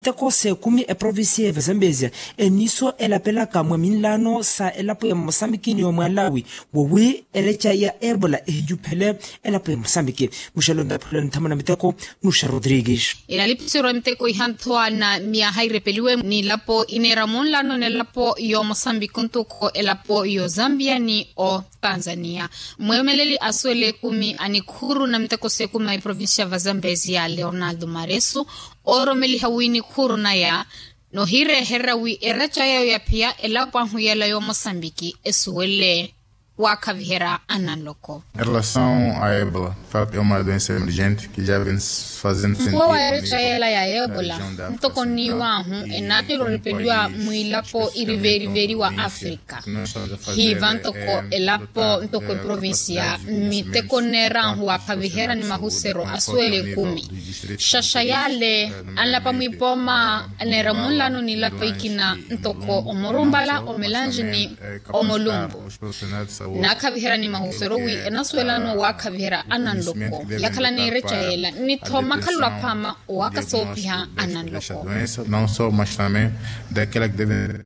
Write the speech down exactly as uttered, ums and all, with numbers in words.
miteko s'ekumi eprovincia ya vazambezia eniso elapelaka mwa minlaano sa elapo ya mosambiki ni omwalawi wowi ereca ya ebola ehicuphele elapo ya mosambiki. Muxelo ntaphulelo nthamo na miteko nuxa rodrigues. Enalipiserwa miteko ihanthwa na miyaha irepeliwe ni elapo ineera munlaano n'elapo y'omosambiki ntuko elapo y'ozambia ni otanzania. Mweemeleli asuwela ekumi a nikhuuru na miteko s'ekumi a iprovincia va zambezia leonardo maresu ooromeliha wi nikhuuru naya nohireherya wi ereca yayo ya phiya elapo ahu yela y'omosambiki esuwele waakhaviherya ananloko. Erelasawu a ebola fat e uma doensa emergente ki ja vens fazendo sentido. Nkuwa wa ereca yela ya ebola ntoko nniiw'ahu enaatela orepeliwa mwiilapo iriveeriveri wa afrika. Hiiva ntoko elapo ntoko eprovincia miteko nneer'ahu waakhaviherya ni mahusero asuwela ekumi. Xaxa yale anlapa mwipooma aneera munlano ni lapo ikina ntoko omorumbala omelange ni omolumbu. Naakhaviherya ni mahusero wi enasuwelano waakhaviherya ananloko yakhala n'ereca yela ni tho makhalula khwama owaaka soopiha ananloko. Não só mas também daquela que deve